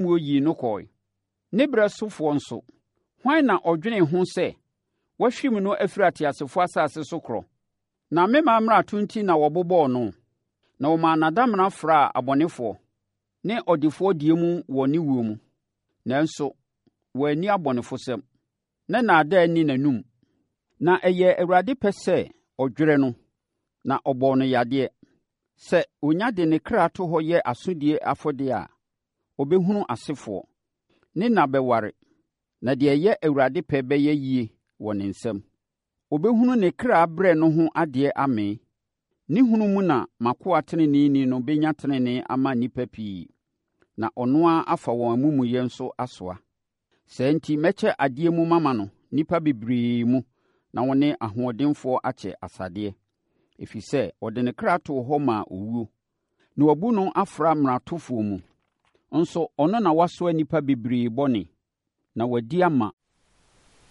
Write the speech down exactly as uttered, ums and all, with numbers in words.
Atemmuo yii no kɔe. Ne berɛ sofoɔ nso, hwan na ɔdwenee ho sɛ wɔahwim no afiri ateasefoɔ asase so korɔ? Na me man mmarato nti na wɔbobɔɔ no, na wɔmaa n'adamena fraa abɔnefoɔ ne ɔdefoɔ deɛ mu wɔ ne wuo mu. Nanso wanni abɔnefosɛm, na nnaadaa nni n'anomu. Na ɛyɛɛ Awurade pɛ sɛ ɔdwerɛ no, na ɔbɔɔ no yadeɛ. Sɛ ɔnya de ne kra to hɔ yɛ asodie afɔdeɛ a, ɔbɛhunu asefoɔ. Ne nna bɛware, na deɛ ɛyɛ Awurade pɛ bɛyɛ yie wɔ ne nsam. Ɔbɛhunu ne kra brɛ no ho adeɛ amee. Ne hunu mu na m'akoa teneneeni no bɛnya tenenee ama nnipa pii, na ɔno ara afa wɔn amumuyɛ nso asoa. Saa enti mɛkyɛ adeɛ mu mama no nnipa bebree mu na ɔne ahoɔdenfoɔ akyɛ asadeɛ, ɛfiri sɛ ɔde ne kra too hɔ maa owuo, na wɔabu no afra mmaratofoɔ mu. Nso ɔno na wasoa nnipa bebree bɔne, na wadi ama